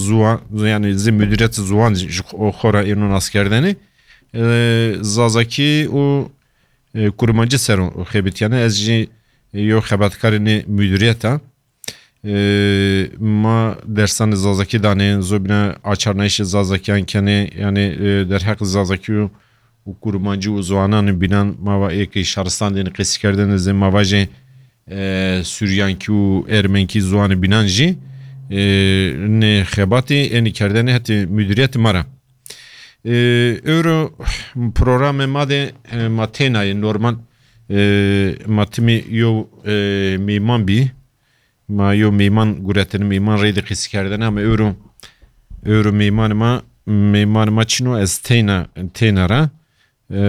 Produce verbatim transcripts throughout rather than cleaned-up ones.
ziwan, yani zê müdüriyet ziwan ji xo-, xora êno naskerdene. E, Zazakî û, e, Kurmancî ser o xebitiyane. Ez jî yo xebatkarê nê müdüriyeta. E, ma dersanê Zazakî danê, zobîna açarnayîşê Zazakiyan kenê, yani, e, derheq Zazakî û, û Kurmancî û ziwanan bînan ma va êkê şaristan dên qesîkerdene zê ma vajê, e, Suryankî û Ermenkî ziwanê bînan jî, e, nê xebatê ênî kerdene hetê müdüriyet ma ra. E, Ewro programê ma de, e, ma têna ye normal, e, ma timî yo, e, mîman bî. Ma yo mîman guretin, mîman reyde qesîkerdene ama ewro, ewro mîman ma, mîman ma çino ez têna, têna ra. E,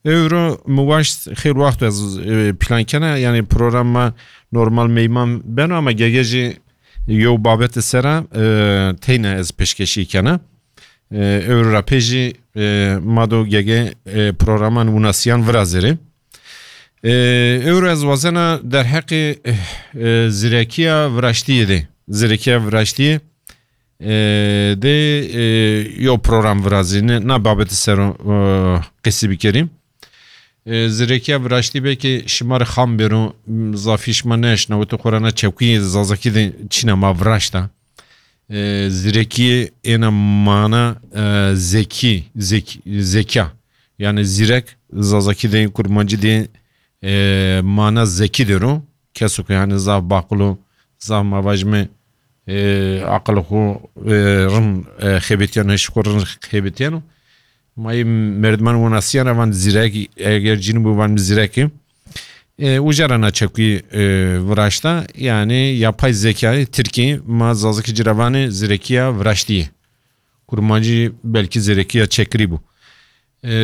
Ewro mi waşt xêl waxt ez, e, plan kena, yani program ma normal meyman beno ama gege jî yo babete sera, e, teyne ez pêşkeşî kena. E, ewro ra pê jî, e, ma do gege, e, programan winasiyan virazêrê. E, Ewro ez wazena derheqê, e, e, zirekiya viraştiyê de. Zirekiya viraştiyê e, de, e, yo program virazîne, na babetê ser o, e, qesî bikerîm. E, zirekiya viraştî belkî şima re xam bêro, m, zafî şima neeşnawite xwe re na çekuyê Zazakî de çîna ma viraşta. E, zirekiyê êna mana, e, zekî, zek-, zekya. Yani zîrek, Zazakî de, Kurmancî de, e, mana zekî dero. Keso ku yani zaf baqil o, zaf ma vajime, e, aqil xwe, e, rin, e, xebetiyano, hişê xwe rin xebetiyano. Ma yê merdiman winasiyana van zîrek, eger cîn bû van zîrekî. E, uca ra na çekuyê, e, viraşta, yani yapay zekayê Tirkî, ma Zazakî ci ra vanê zirekiya viraştiyê. Kurmancî belkî zirekiya çekirî bû. E,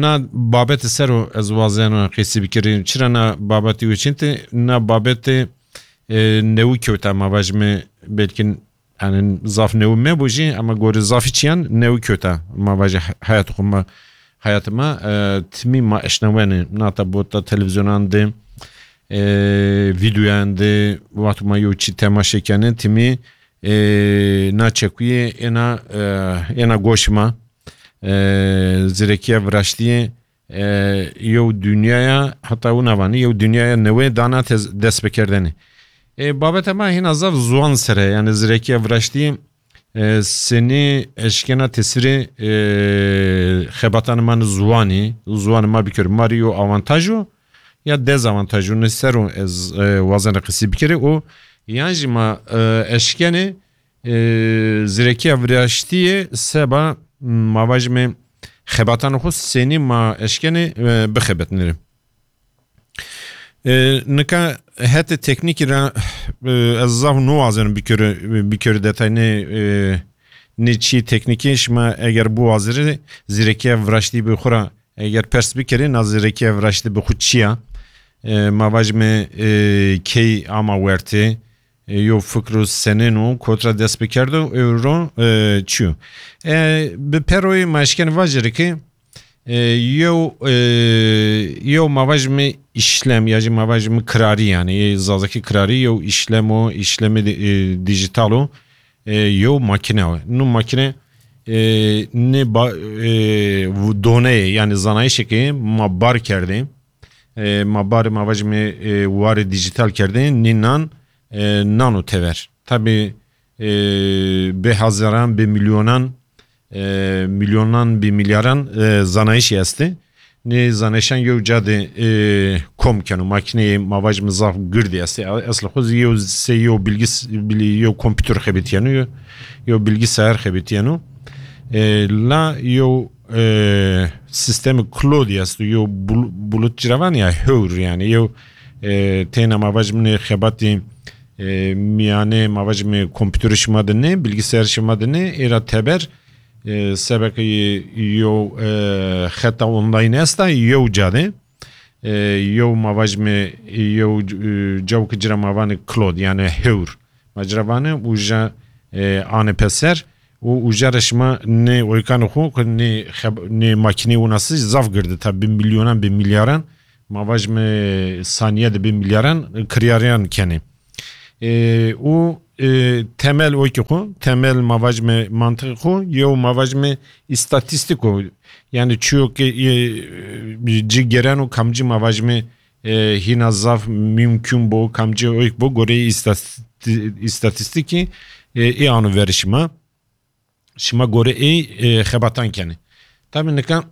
na babetê ser o ez wazeno qesî bikirim. Çira na babetî wê çin tê? Na babetê, e, newî kewta ma vajime belkî, yani zaf newî mebû jî ama gorî zafî çiyan newî kewta ma vaje he-, heyat xwe ma, heyat ma, e, timî ma eşnawene. Nata bota televîzyonan de, e, vîdeoyan de, wextê ma yo çî temaşe kene, timî, e, na çekuyê êna, e, êna goş ma, e, zirekiya viraştiyê, e, yew dinyaya, heta wina vanî, yew dinyaya newê dana tez-, dest pêkerdene. E, babeta ma hîna zaf ziwan sere, yani zirekiya viraştiyê, e, senî eşkena tesirê, e, xebatana ma ni ziwanî, ziwanê ma bikir, ma rê yo avantaj o ya dezavantaj o, ne ser o ez, e, wazena qesî bikirî û yan jî ma, e, eşkenê, e, zirekiya viraştiyê seba, m, ma vajime xebatana xwe senî ma eşkenê, e, bixebetnirê. E, nika hetê teknîkî ra, e, ez zaf niwazenim bikiri, bikiri detay nê, e, nê çî teknîkî şima eger biwazirî zirekiya viraştî bi xwe ra eger pers bikirî na zirekiya viraştî bi xwe çi ya? E, ma vajime, e, key ama wertê, e, yo fikr û senên û kotra dest bikerdo ewro, e, çi yo? E, bi peroyê ma eşken vajirî ki, e, yew, e, yew ma vajime işlem ya jî ma vajime kirarî yani, yê Zazakî kirarî yew işlem o, işlemê di-, e, dijital o, e, yew makine o. Nu makine, e, ne ba-, e, doneyê yani zanayişekê ma bar kerdê, e, ma barê ma vajime, e, warê dijital kerdê, nî nan, e, nano tever. Tabi, e, bi hezaran, bi milyonan, e, milyonan, bi milyaran, e, zanayişî estê. Nê zanayişan yew ca de, e, kom keno. Makîneyê ma vajime zaf girdî estê. Esl xwe zî yew sey yew bilgis-, bilî-, yew kompûter xebitiyeno, yew, yew bilgisayar xebitiyeno. E, la yew, e, sîstemê cloud esto, yew bul-, bulut ciravan ya hewr yani, yew, e, têna ma vajime xebatî, e, mîyanê ma vajime kompûterê şima de ne, bilgisayar şima de ne, êra teber, e, sebekê yew, e, xeta online esta, yew ca de, e, yew ma vajime yew, e, cawke cira ma vanê cloud, yani hewr. Ma cira vanê uca, e, anê peser û uca re şima nê oykanê xwe ku nê xeb-, nê makînê winasî zaf girdi, tabi bi milyonan, bi milyaran, ma vajime saniye de bi milyaran kiryariyan kenê. E, û e, temel wekî xwe, temel ma vajime mantiqê xwe, yew ma vajime îstatîstîk o. Yani çiyo ke, e, ci gereno kamcî ma vajime, e, hîna zaf mümkün bo, kamcî oyk bo, goreyê îstati-, îstatîstîkî, e, ê ano verişima. Şima gore ê, e, xebatan kenê. Tabi nika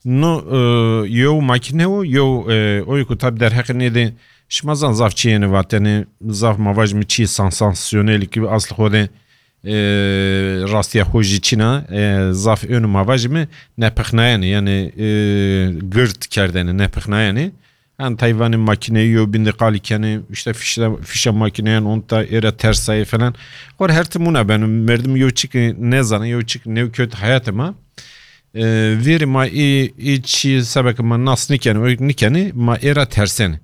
no, e, yew makine o, yew, e, oy ku tabi derheqê nê de şima zan zaf çi yene vatene, zaf ma vajime çi sansasyonel ki aslı xo de, e, rastiya xo jî çina, e, zaf ön ma vajime nepixnayene, yani, e, girt kerdene, nepixnayene. Yan tayvanê makineyi yo bindi qali keni, işte fişe, fişe makineyen onta era tersayı falan. Xor her timuna ben merdim yo çiki nezane, yo çik nev kötü hayatı ma. E, veri ma i, i çi sebek ma nas nikeni, o nikeni, ma era tersen.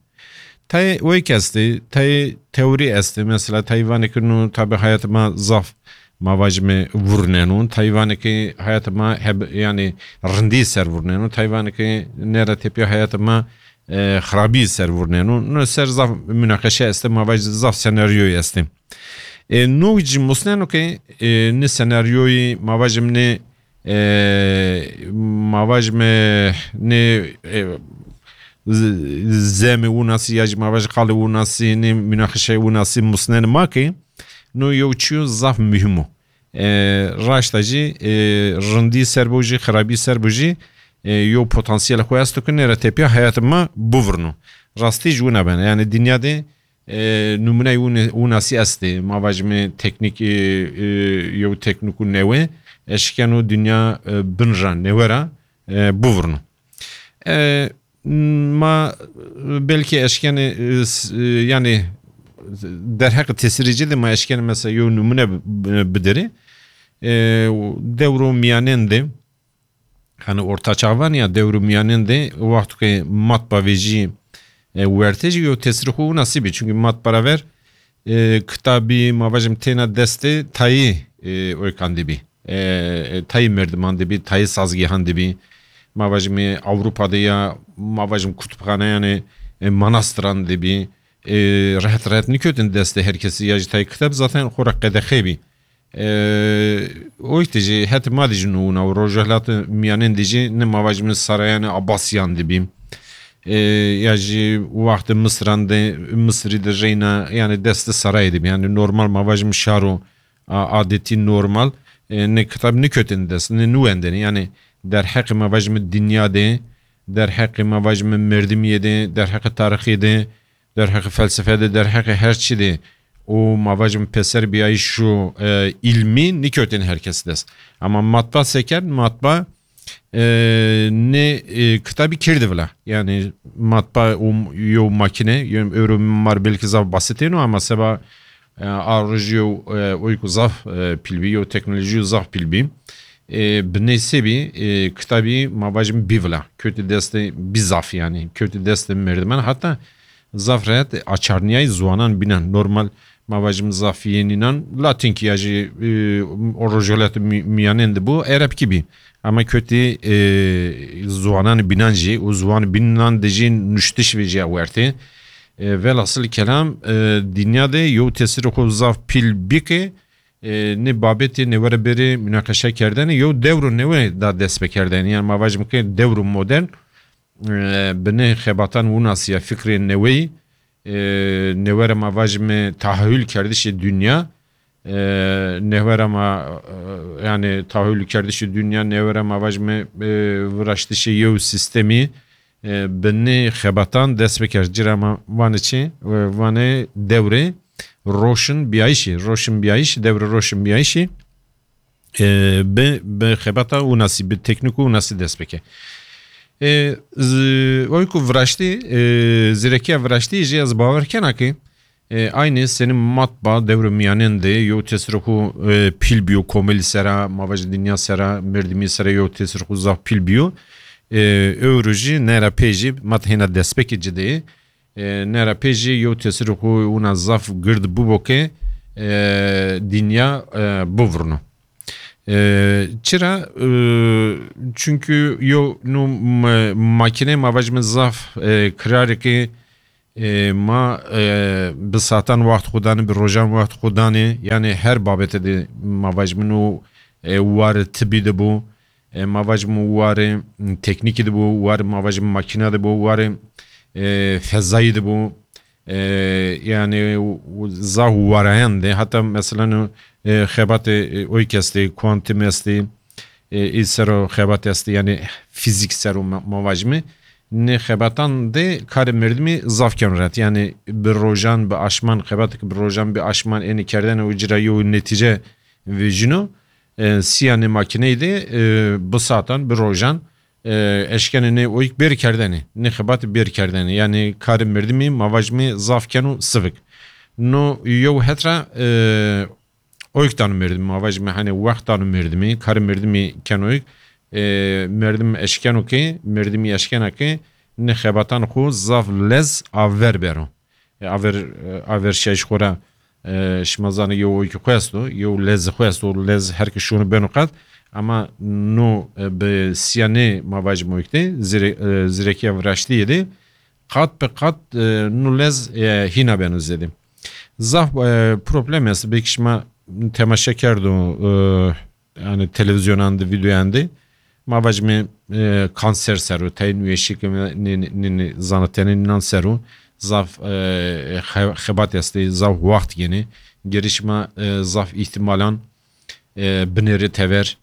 Tay o ek esti, tay teori esti. Mesela tayvanê ki nu tabi hayatı ma zaf ma vajime vurneno. Tayvanê ki hayatı ma heb, yani rindi ser vurneno. Tayvanê ki nera tepya hayatı ma e, xirabî ser vurneno. No ser zaf münaqeşe este, ma vaj zaf senaryoyê este. E, no jî musneno ke, e, ne senaryoyê ma vajim ne, e, ma vajim ne, e, z-, zemê winasî ya jî ma vaj qalê winasî ne münaqeşe winasî musnen ma ke, no yew çiyo zaf mühim o. E, raşta jî, e, rindî ser bo jî, xirabî ser bo jî, e, yo potansiyel xwe esto ku nêre tepya hayatê me bivurno. Rastî ji wina bene. Yani dinya de, e, numuneyi wine-, winasî estê. Ma vajime teknîk, e, e, yo teknîk û newe, eşkeno dinya, e, bin ra, newe ra, e, bivurno. E, ma belkî eşkene, e, s-, e, yani derheqê tesirî ci de ma eşkene mesela yo numune bi-, bi-, bidere. E, dewro miyanen de, hani orta çavan ya dewro miyanen de, wexto ke matba vêjî, e, werte jî yo tesirî xwe winasî bî. Çünkü matba ra ver, e, kitabî, ma vajim têna destê tayî, e, oykan dibî. E, e, tayî merdiman dibî, tayî sazgehan dibî. Ma vajim Ewropa de ya, ma vajim kutubxane yani, e, manastiran dibî. E, rehet rehet nikewtin destê her kesî ya jî tayî kitab zaten xwe re qedexe bî. E, oy tê jî het ma dijî nûna û rojhilat miyanen dijî ne ma vajim sarayanê Abbasiyan dibî. E, ya jî wextê Misran de, Misrî de reyna, yani destê sarayê dibî. Yani normal ma vajim şaro a-, adetî normal, e, ne kitab nikewtin dest, ne nuwendene. Yani derheqê ma vajim dinya de, derheqê ma vajim merdimiyê de, derheqê tarixê de, derheqê felsefe de, derheqê her çi de û ma vajim peser biyayîş û, e, ilmî nikewtin her kes dest. Ama matba se kerd, matba, e, ne, e, kitabî kirdi vila. Yani matba û yo makine, yo euro mar belki zaf basitêno ama seba, e, a roj yo, e, oy ku zaf, e, pîl bî, yo teknolojî yo zaf pîl bî. E, binê se bî, e, kitabî ma vajim bî vila. Kewtî destê bî zaf yani. Kewtî destê merdiman. Hatta zaf rehet açarniyayî ziwanan bînan. Normal ma vajim zaf yenînan. Latinkî ya jî, e, o rojhilatê mi-, miyanen de bû. Erebkî bî. Ama kewtî, e, ziwanan bînan jî û ziwan bînan de jî nuştiş vê jî wertê. E, velhasil kelam, e, dinya de yo tesirê xwe zaf pîl bike, e, ne babetê ne were berê münaqeşe kerdene, yo dewro newe da dest pê kerdene. Yani ma vajim ke dewro modern, e, binê xebatan winasiya fikrê neweyî, e, newere ma vajime tahayül kerdişê dinya, e, newere ma, e, yani tahayül kerdişê dinya, newere ma vajime, e, viraştişê yew sistemî, e, binê xebatan dest pê kerd. Cira ma vane çi? E, vane dewrê roşinbiyayîşê, roşinbiyayîş, dewrê roşinbiyayîşê, e, bi, bi xebata winasî, bi teknîk û winasî dest pê ke. E, z-, oy ku viraştî, e, zîrekiya viraştî jî ez bawer kena ke, e, aynî senî matba dewrê miyanen de yo tesirê xwe, e, pîl bîyo komelî sera, ma vajî dinya sera, merdimî sera yo tesirê xwe zaf pîl bîyo. E, ewro jî nera pê jî mat hêna destpêkê ci de ye. E, nera pê jî yew tesirê xwe wina zaf gird bûbo ke, e, dinya, e, bivurno. E, çira? E, çünkü yo nu m-, makine ma vajime zaf, e, kirareke, E, ma e, bi satan waxt xwe danê, bi rojan waxt xwe danê. Yani her babete de ma vajmin û e, war tibî de bû. E, ma vajmin warê teknîkî de bû, war ma vajmin makîna de bû, warê e, fezayî de bû. E, yani zaf warayan de. Hatta mesela e, xebatê e, oyk estê, kuantim estê, e, î sero xebat estê, yani fizik sero ma, ma vajmi. Nê xebatan de karê merdimî zaf keno ret. Yani bi rojan, bi aşman, xebatek bi rojan, bi aşman ênî kerdene û cira yew netîce vejîno. E, siya nê makîneyî de e, bi satan, bi rojan e, eşkenê nê oyk bêr kerdene, nê xebat bêr kerdene. Yani karê merdimî ma vajmi zaf keno sivik. No yew hetra e, oyk dano merdimî, ma vajmi hani wext dano merdimî, karê merdimî keno oyk. E, merdim eşkeno ke, merdimî eşkena ke nê xebatan xwe zaf lez aver bero. E, aver, e, aver şeş xwe ra e, şima zanê yew oyk xwe esto, yew lez xwe esto, lez her ke şûno beno qet. Ama no e, bi siya nê ma vajim oyk de, zire, e, zirekiya viraştiyê de qat bi qat e, no lez e, hîna beno zêde. Zaf e, problem est, belkî şima temaşe kerdo e, yani televîzyonan de, vîdeoyan de. Ma vajime e, kanser sero, tayê nûyeşî ke nê, nê, nê, nê zanatenê nînan sero, zaf e, xe-, xebat estê, zaf waxt gênê. Gerî şima e, zaf îhtîmalan e, binêrê tever.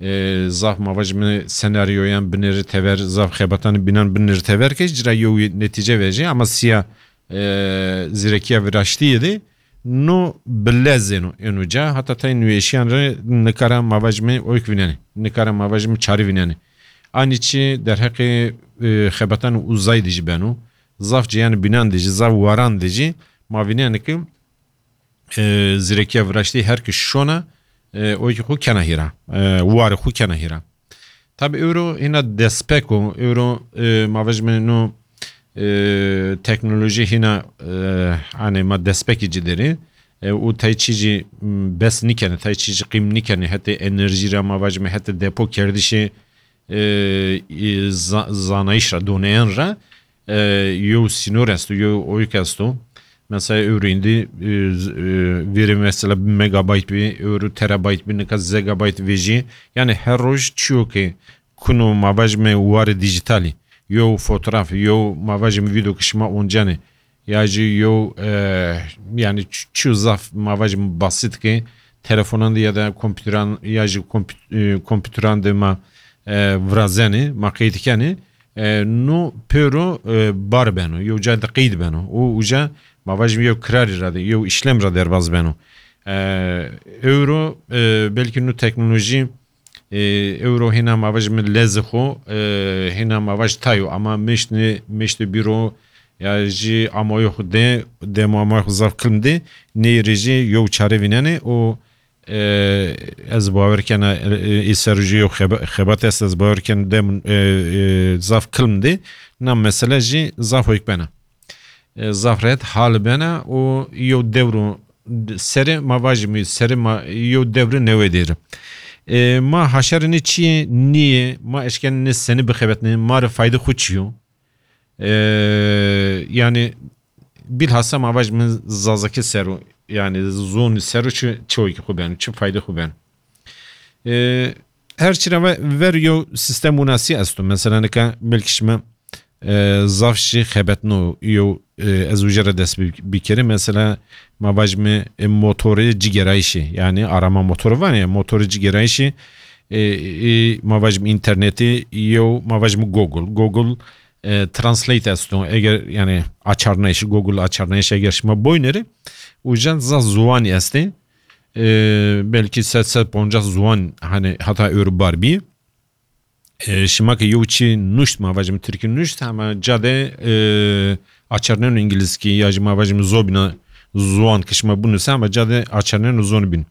E, zaf ma vajime senaryoyan binêrê tever, zaf xebatan bînan binêrê tever ke cira yew netîce vejê, ama siya e, zîrekiya viraştiyê de no bi lez êno, êno ca, heta tayê nûyeşiyan re nikara ma vajime oyk vînenê, nikara ma vajime çare vînenê. Anî çi derheqê e, xebatan uzay de jî beno. Zaf cêyan bînan de jî, zaf waran de jî ma vînenê ke e, zîrekiya viraştî her ke şona e, oyk xwe kena hîra, e, warê xwe kena hîra. Tabi ewro hîna destpek o, ewro e, ma vajime no e, teknolojî hîna e, hani ma destpekî ci derê. E, û tay çî jî m, bes nikene, tay çî jî qîm nikene, hetê enerjî ra ma vajime, hetê depo kerdişê e, e, za-, zanayîş ra, doneyan ra e, yew sînor esto, yew oyk esto. Mesela ewro îndî e, z- e, vêrê mesela bi megabayt bî, ewro terabayt bî, nika zegabayt vejî. Yani her roj çiyo ke kuno ma vajime warê dîjîtalî, yew fotoğraf, yew ma vajime vîdeo ke şima oncenê, ya jî yew e, yani ç- çiyo zaf ma vajime basît ke telefonan de ya da kompîteran ya jî kompî- e, kompîteran de ma e, virazenê, ma qeyd kenê, e, no pêro e, bar beno, yew ca de qeyd beno. Û uca ma vajim yew kirarî ra de, yew işlem ra derbaz beno. E, ewro e, belkî no teknolojî e, ewro hîna ma vajim lezê xo, e, hîna ma vaj tayo, ama meşt ne, meştê bîro ya jî amoyê xo de, demo amoyê xo zaf kilm de, neyê rê jî yew çare vînenê û e, ez bawer kena, e, e, îser jî yew xeba-, xebat est, ez bawer ken dem, e, e, zaf kilm de, na mesele jî zaf hoyk bena. E, zaf rehet hal bena û yew dewro serê ma vajî mi, serê ma yew dewrê newê dêr. E, ma haşerê ne çiyê niyê, ma eşken ne seni bixebetne, ma re fayde xu çiyo? E, yani bilhassa ma vaj min zazakî sero, yani zon sero çi, çi oyki xu ben, çi fayde xu ben. E, her çira ve, ver yo sistem winasî esto. Mesela nika belkî şima e, zaf jî xebetno yo, e, ez uje re dest bi-, bikeri. Mesela ma vajmi e, motorê cigerayişê, yani arama motoru var ya, motorê cigerayişê, e, e, ma vajmi internetê yo, ma vajmi Google. Google e, Translate esto. Eger yani açarnayış, Google açarnayış eger şima boyneri, ujen zaf zuwani estê. E, belkî sed, sed poncas zuwan hani hata ewro bar bî. E, şima ke yew çi nuşt, ma vajim tirkî nuşt, ama cade e, açarneno îngilizkî ya jî ma vajim zobîna zuwan ke şima binuse, ama cade açarneno zon bîn.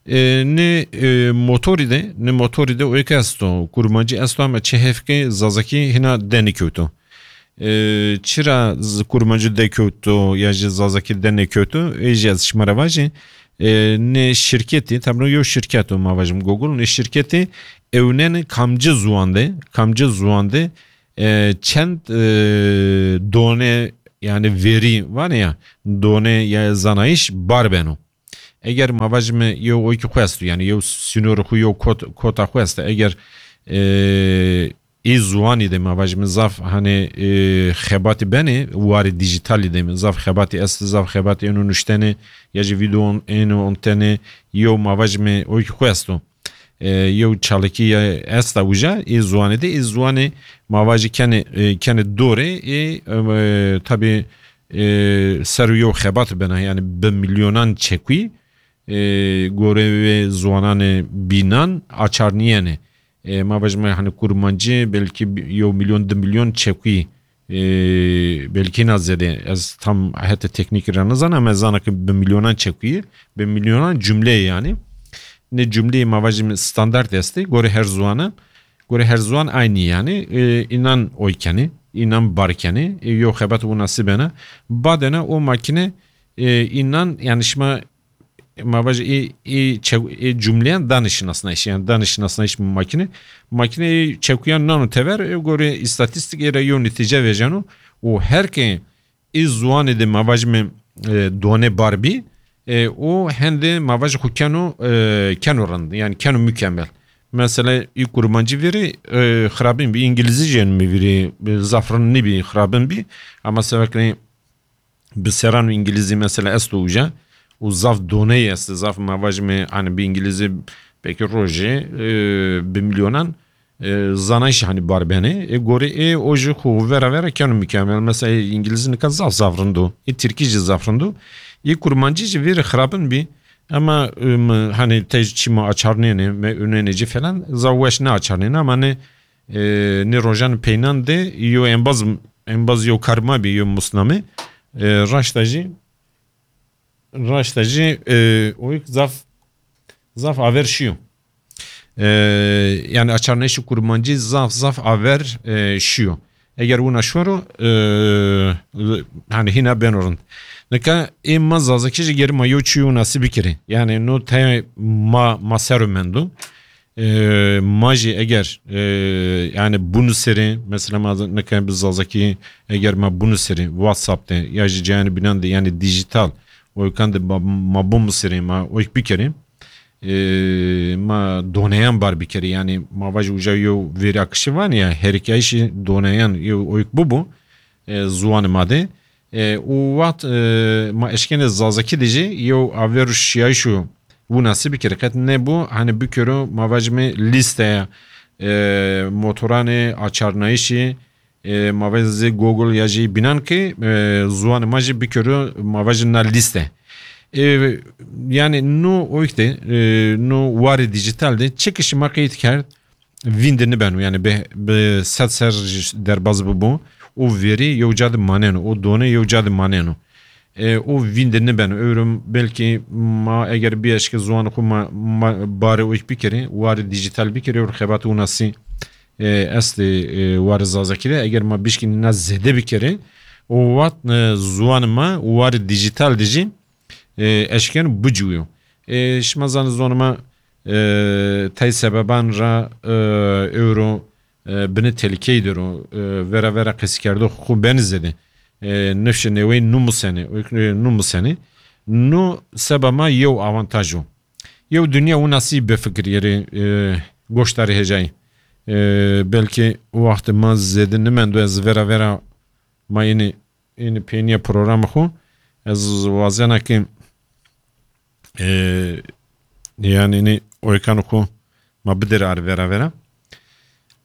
E, ne e, motorî de, ne motorî de oyke esto, kurmancî esto, ama çi hevke zazakî hina de nikewto. E, çira z-, kurmancî de kewto ya jî zazakî de nekewto, ê jî ez şima re vajî. E, ne şirketî, tablo yew şirket o, ma vajim Google, ne şirketî ewnene kamci zuwan de, kamci zuwan de, e, çend e, done yani verî vane ya, done ya zanayîş bar beno. Eger ma vajime yew oykî xwe esto, yani yew sînorê xwe, yew kot-, kota xwe este, eger, e, ê ziwanî de ma vajime zaf, hani, e, xebatî benê, warê dîjîtalî de zaf xebatî este, zaf xebatî êno nuştene, ya jî vîdeo êno ontene, yew ma vajime oykî xwe esto. E, yew çalakî ya esta uca, ê ziwanê de, ê ziwanê ma vajî kenê, e, kenê dorê, ê, e, tabî, e, ser û yew xebat bena, yani bi milyonan çekûyî, e, gorê wê ziwananê bînan açarniyene. E, ma vajime, hani, kurmancî belkî bi-, yew milyon, du milyon çekûyî, e, belkî na zêde. Ez tam hete teknîkî re nizanim, ama ez zana ki bi milyonan çekûyî, bi milyonan cumleyê yani. Ne cumleyê ma vajime standart estê, gorê her ziwana, gorê her ziwan aynî yani. E, înan oy kenê, înan bar kenê, e, yew xebat winasî bena. Badena o makine, e, înan, yani şima ma vajî ê, ê çew-, ê cumleyan danê şinasnayîş, yani danê şinasnayîş makine. Makine ê çekuyan nano tever, ê gorê îstatîstîk ê re yew netîce vejeno û her ke ê ziwanê de ma vajime, e, done bar bî, e, û hende ma vajî xwe keno, e, keno rind, yani keno mükemmel. Mesela ê kurmancî vîrî, e, xirabin bî, îngilîzî jî mi vîrî, e, zaf rind nîbî, xirabin bî, ama seveklê bi seran û îngilîzî mesela esto uca û zaf doneyê est, zaf ma vajime, hani bi îngilîzî belkî rojê, e, bi milyonan, e, zanayîş hani bar benê. E, gorê ê o jî xwe vera vera keno mükemmel. Mesela ê îngilîzî nika zaf zaf rind o. Ê tirkî jî zaf rind o. Ê kurmancî jî vêrê xirabin bî. Ama, e, mi, hani te çî ma açarnêne, me önenê jî falan, zaf weş ne açarnêne, ama ne, e, ne rojan peynan de yo embaz, embaz yo kar ma bî, yo musname. E, raşta jî, raşta jî, e, oyk zaf, zaf aver şiyo. E, yani açarnayîşê kurmancî zaf, zaf aver, e, şiyo. Eger wina şwero, e, hani hîna beno rind. Nika ê ma zazakî jî gerî ma yo çî winasî bikirî. Yani no tey ma, ma ser o mendo. E, ma jî eger, e, yani binusêrê, mesela ma nika bi zazakî eger ma binusêrê WhatsApp de ya jî cayên bînan de, yani dîjîtal oykan de ma, ma binusêrê, ma oyk bikerê, e, ma doneyan bar bikerê, yani ma vajî uca yew vêrî akişî vanê ya, herikayîşê doneyan yew oyk bibo, e, ziwanê ma de. E, û wext, e, ma eşkenê zazakî de jî yew aver û şiyayîş û winasî bikirî. Qet nebû, hani bikero, ma vajime lîsteya, e, motoranê açarnayîşî, e, ma vajî Google ya jî bînan ki, e, ziwanê ma jî bikero, ma vajî na lîste. E, yani no oyk de, e, no warê dîjîtal de çi ki şima qeyd kerd, vîn de nibeno, yani bi, bi sed ser jî derbaz bibo, o verî yew ca de maneno, o done yew ca de maneno. E, o vîn de nibeno. Ewro belkî ma eger bieşke ziwanê xwe ma, ma barê oyk bikerê, warê dîjîtal bikerê, ewro xebatê winasî, e, estê, e, warê zazakî de. Eger ma bişkînî na zêde bikerê, o wext, e, ziwanê ma warê dîjîtal de jî, e, eşken biciwiyo. E, şima zanî ziwanê ma, e, tey sebeban ra, e, ewro, e, binê telîkeyî de ro, e, vera vera qesîkerdo xwe benî zêde. E, nifşê neweyî nû musene, e, nû musene. Nû seba ma yew avantaj o. Yew dinya winasî bifikirî, e, goşdarê hêjayî. E, belkî wextê ma zêde nimendo, ez vera vera ma ênî, ênî peynîya programê xwe. Ez wazena ki, e, yani ênî oykan xwe ma bidêre ar vera vera.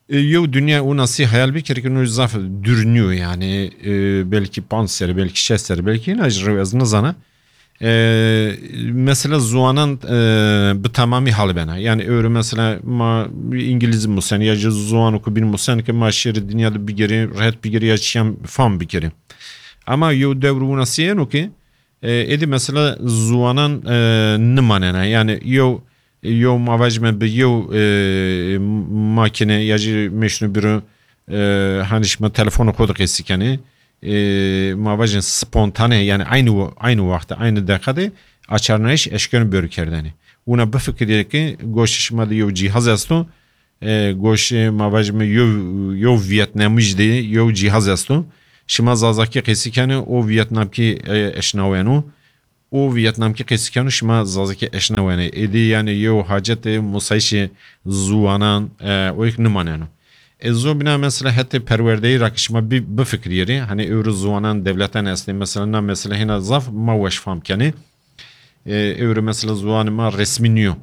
E, yew dinya winasî hayal bikerî ki no zaf dûr nîyo yani, e, belkî panc serî, belkî şeş serî, belkî hîna jî rew ez nizana. E, mesela ziwanan, e, bi temamî halibena. Yani ewro mesela ma îngilîzî musen ya jî ziwan ku bîn musen ki ma şêrê dinya de bigerî, rehet bigerî ya çiyan fam bikerî. Ama yew dewr winasî yeno ki, e, êdî mesela ziwanan, e, nimanena. Yani yew, yew ma vajime bi yew, e, makine ya jî mêşno biro, e, hani şima telefonê xwe de qesî kenê. E, ma vajin spontane, yani aynı wa-, aynı wextê, aynı deqa de açarnayîş eşkeno bero kerdene. Wina bifikirî ki goşê şima de yew cîhaz esto, e, goşê ma vajime yew, yew Vîetnamî jî de yew cîhaz esto. Şima Zazakî qesî kenê û Viyetnamkî, e, eşnaweno. Û Viyetnamkî qesî keno, şima Zazakî eşnawene. Êdî yani yew hacetê musayişê ziwanan, e, o yek nimaneno. E, zobîna mesela hetê perwerdeyî ra ki şima bi-, bifikirîrî, hani ewro ziwanan dewletan estê, mesela na mesela hêna zaf ma weş fam kenê. E, ewro mesela ziwanê ma resmî nîyo.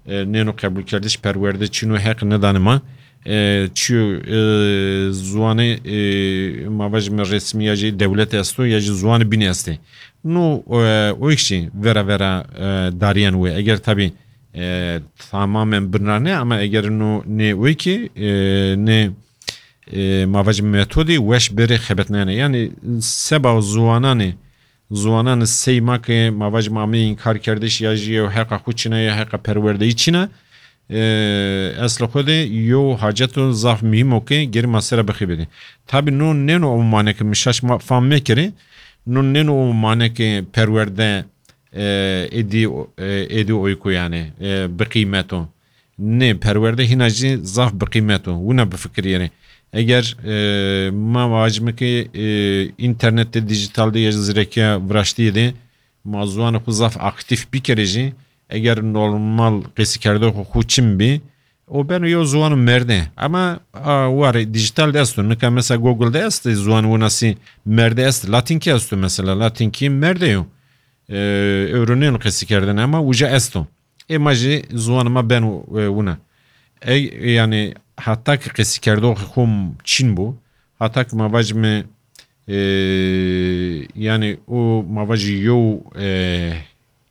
E, nêno qebûlkerdiş, perwerde çîno, heq nedanê ma. E, çîyo, e, ziwanê, e, ma vajîme resmî ya jî dewlet esto ya jî ziwanê bînê estê. No, e, o yek jî vera vera, e, dariyen wê. Eger tabî, e, tamamen binra ne, ama eger no nê o yekî, e, nê, e, ma vajîme metodî weş berê xebetnayene. Yani seba ziwananê, ziwananê sey ma ke ma vajîme amê înkar kerdiş ya jî yew heqa xwe çine ya heqa perwerdeyî çine, e, eslê xwe de yew haceto zaf muhîm o ke gerî ma sera bixebitî. Tabî no nêno o mane ke min şaş ma-, fam mekirî, no nêno o mane ke perwerde, e, êdî, e, êdî oyko yani, e, biqîmet o. Nê, perwerde hîna jî zaf biqîmet o. Wina bifikirîrê. Eger, e, ma vajîme ke, e, înternetê, dîjîtal de ya jî zirekiya viraştiyê de ma ziwanê xwe zaf aktîf bikerê jî, eger normal qesîkerdê xwe xwe çin bî, o beno yew ziwano merde. Ama, a, warê dîjîtal de esto. Nika mesela Google de est ziwan winasî merde est. Latînkî esto mesela. Latînkî merde yo. E, ewro nêno qesîkerdene ama uca esto. Ê ma jî ziwanê ma beno, e, wina. Ey, yani heta ki qesîkerdoxê xwe çin bû, heta ki ma vajîme, e, yani o ma vajî yew, e,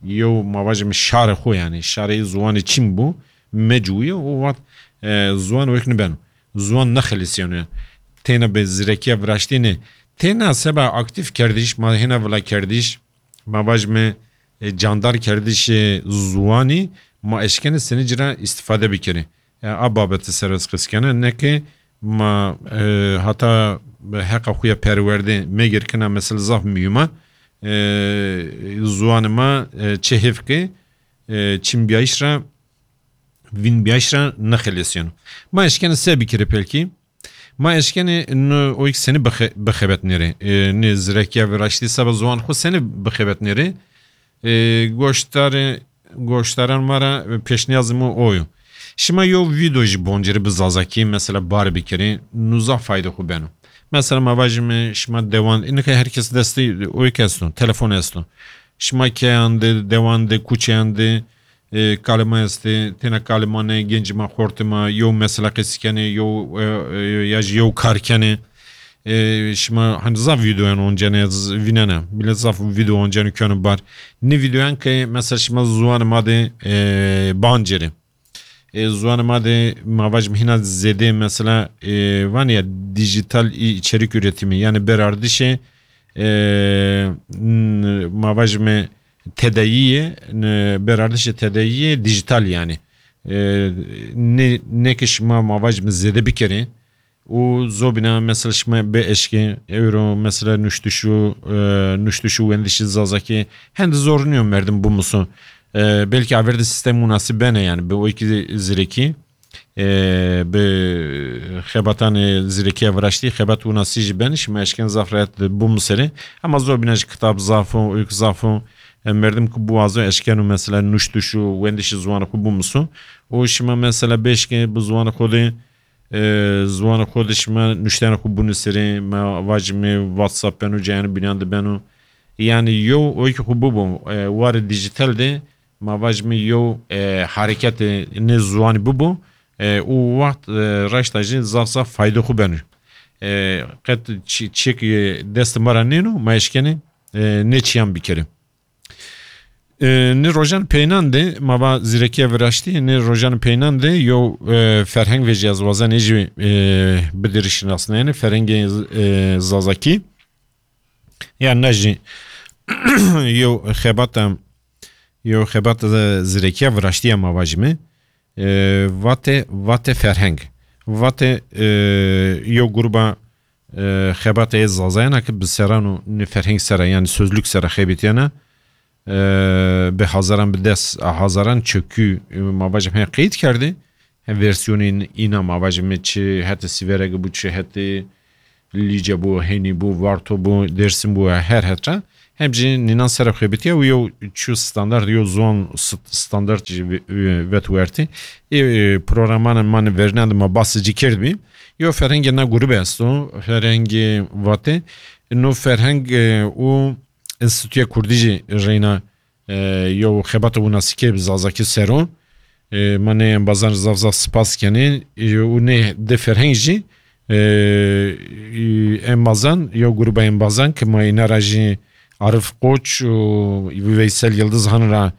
yew ma vajîme şarê xwe yani, şarê ziwanê çin bû, mecûye, o wext, e, ziwan wek nibeno. Ziwan nexelisiyano. Têna bi zirekiya viraştî ne. Têna seba aktîf kerdiş, ma hêna vila kerdiş, ma vajîme, e, candar kerdişê ziwanî, ma eşkene senî cira îstîfade bikerê. E, a babetê ser ez qis kene, ne ke ma, e, heta heqa xwe ya perwerdê megirkina mesela zaf muhîm a. E, ziwanê ma, e, çi hêv ke, e, çinbiyayîş ra, vînbiyayîş ra nexelesiyeno. Ma eşkene se bikirê pelkî? Ma eşkenê no o yek senî bixe-, bixebetnêrê. E, nê zirekiya viraştî seba ziwan xwe senî bixebetnêrê. E, goştarê, goştaran ma ra pêşniyazê min o yo. Şima yew vîdeo jî boncerî bi zazakî, mesela bar bikirî, no zaf fayde xwe beno. Mesela ma vajîme şima dewan, nika her kes destê o yek esto, telefon esto. Şima keyan de, dewan de, kuçeyan de, e, kalê ma estê, têna kalê ma ne, gencê ma, xortê ma, yew mesela qesî kenê, yew, e, e, ya jî yew kar kenê. E, şima hani zaf vîdeoyan oncene, z-, vînene. Milet zaf vîdeo oncene keno bar. Nê vîdeoyan ke mesela şima ziwanê ma de, e, bancerê. E, ziwanê ma de ma vajim hîna zêde mesela, e, van ya dijital i-, içerik üretimi. Yani berardişê, e, n-, ma vajime tedayiyê, n-, berardişê tedayiyê dijital yani. E, ne, ne ki şima ma vajime zêde bikerê. Û zobîna mesela şima bê eşkê, ewro mesela nuştiş û, e, nuştiş û wendişî zazakî hende zor niyo merdim bimuso. E, belkî aver de sîstem munasib bene yani, bi o yekî zirekî, e, bi xebatanê zirekiya viraştî, xebat winasî jî bene, şima eşken zaf rehet bimuserê. Ama zobîna jî kitab zaf o, oyk zaf o. E, merdim ku biwazo eşkeno mesela nuştiş û wendişî ziwanê xwe bimuso. Û şima mesela bê eşkê bi ziwanê xwe de, e, ziwanê xwe de şima nuştene xwe binusirê, me vajime WhatsApp beno, cayene bînan de beno. Yani yew oyki xwe bibo, e, warê dijital de, ma vajime yew, e, hareketê nê ziwanî bibo, e, û wext, e, reşta jî zaf zaf fayde xwe beno. E, qet çi-, çiyek, e, dest ma ra nêno, ma eşkene, e, nê çiyan bikere. E, nê rojan peynan de, ma va zîrekiya viraştî, nê rojan peynan de yew, e, ferheng vejî ez wazen ê jî, e, bidirî şinasnayene, ferhengê, e, zazakî. Ya ne jî yew xebata, yew xebata zîrekiya viraştî ya ma vajime. E, vate, vate ferheng. Vate, e, yew gruba, e, xebatê zazayana ki bi seran û nê ferheng sera, yani sözlük sera xebitiyana, e, bi hazaran, bi des hazaran çekû, e, ma vajim he qeyd kerdî. He versiyonên îna ma vajim çi hete sîverek bû, çi hete, Lîce bû, Henî bû, Varto bû, Dêrsim bû, her hetra. Hem jî nînan ser xebitiye û yew çû standart, yew ziwan st-, standart jî ve-, ve-, vet wertî. Ê, e, programanên ma ne verînan de ma basê cî kerdibî. Yew ferhengê na grûbe esto, ferhengê Vatê. No ferheng, e, û Enstîtuya Kurdî jî reyna, e, yew xebata winasîkê bi zazakî ser o. E, ma nê embazan zaf zaf spas kenê. E, û nê di ferheng jî, e, embazan, yew grûba embazan ki ma îna ra jî Arif Koç û Veysel Yildiz han ra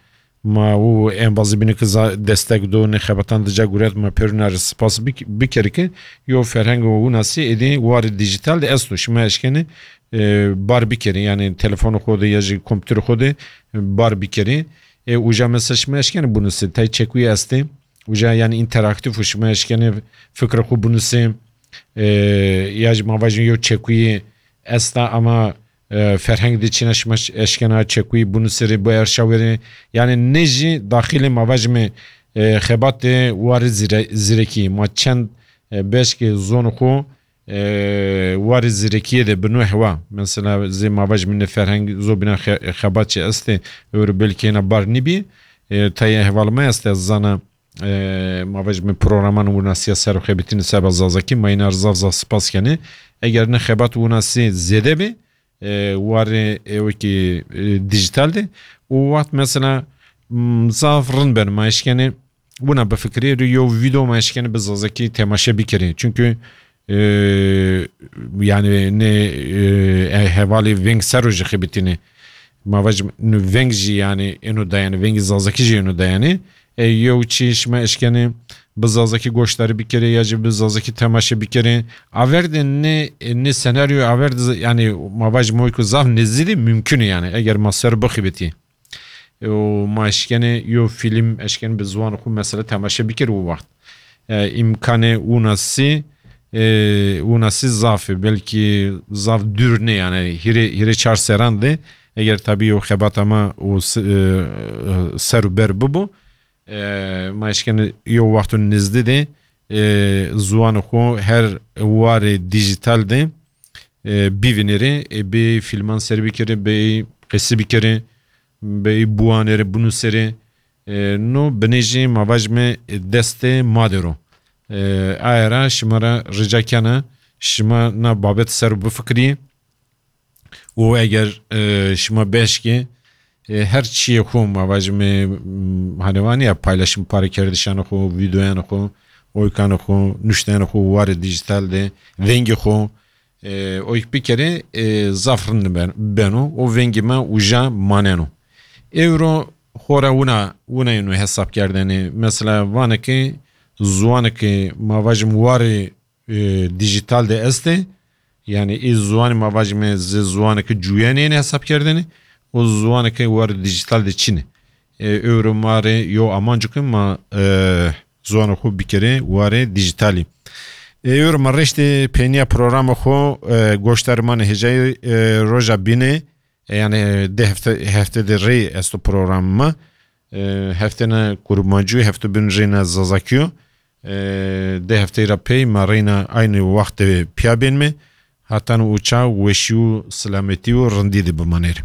ma û embazî bîne ki za-, destek do nê xebatan di ca guret ma pêrûna re spas bik-, bikerî ki yew ferheng û winasî êdî warê dîjîtal de esto. Şima eşkenê, e, bar bikerî, yanî telefonê xwe de ya jî kompûterê xwe de bar bikerî. E, uca mesela şima eşkenê binusê, tay çekuyê estê. Uca yanî înteraktîf û şima eşkenê fikra xwe binusê. E, ya jî ma vajin yew çekuyê esta ama, e, ferheng de çîna şima eşkena çekuyê binusê rê bi erşa wêrê. Yanî ne jî daxilê ma vajime, e, xebatê warê zîre-, zîrekî. Ma çend, e, beşkê zon xwe, e, warê zîrekiyê de bi nû hewa. Mesela zê ma vajime ne ferheng zobîna xe-, xebat çi estê, ewro belkî hêna bar nîbî. E, tayê heval me este zana, e, ma vajime programan winasiya ser xebitîne seba zazakî, ma îna zaf zaf spas kenê. Eger ne xebat winasî zêde bê, e, warê ewekî, e, dîjîtal de, û wext mesela, m, zaf rind ben ma eşkenê wina bifikirê, rê yew vîdeo ma eşkenê bi zazakî temaşe bikerê. Çunkî, e, yanî ne, e, e, hevalê veng ser o jî xebitîne. Ma vajim, nu veng jî yanî êno dayanê, vengê zazakî jî êno dayanê. E, yew çî şima eşkenê bi zazakî goşdarî bikerê ya jî bi zazakî temaşe bikerê. Aver de ne, ne senaryo aver de z-, yanî ma vajim oy ku zaf nêzdî de mümkün e yanî. Eger ma ser bixebitî. E, û ma eşkenê yew fîlm eşkenê bi ziwan xwe mesela temaşe bikerê û wext. E, îmkanê winasî, e, winasî zaf e. Belkî zaf dûr ne yanî. Hîrê, hîrê çar seran de eger tabî yew xebata ma û s-, e, e, ser û ber bibo, e, ma eşkenê yew wexto nêzdî de, e, ziwanê xwe her warê dîjîtal de, e, bivînêrê, e, bê fîlman ser bikerê, bê qesî bikerê, bê biwanêrê, binûserê. E, no binê jî ma vajime, e, destê ma de ro. E, aye ra şima ra rica kena, şima na babet ser bifikirî. Û eger, e, şima beşkê, e, her çiyê xwe, ma vajime, m, hani vaniya paylaşım parekerdişanê xwe, videoyanê xwe, oykanê xwe, nuşteyanê xwe, warê dîjîtal de, vengê xwe, e, oyk bikerê, e, zaf rind ben-, beno, û vengê me uca maneno. Ewro xora wina, wina yeno hesap kerdene. Mesela vanekê, ziwanekê ma vajim warê, e, dîjîtal de este. Yanî ê ziwanê ma vajime zê ziwanekê cuyenê yene hesap kerdene. Û ziwanekê warê dîjîtal de çine. E, ewro ma rê yo amancik ma, e, ziwanê xwe bikerê warê dîjîtalî. E, ewro ma reştê peyniya programa xwe, e, goşdarê ma ne hêjayî, e, roja bîne, e, yanî, e, dê hefte, hefte de rê esto programê ma. E, heftena kurmancî, hefte bin rêna zazakî yo. E, dê hefteyê ra pey ma reyna aynı wextê piya bên me. Hatan û ça weşî û selametî û rindî de bimanêr.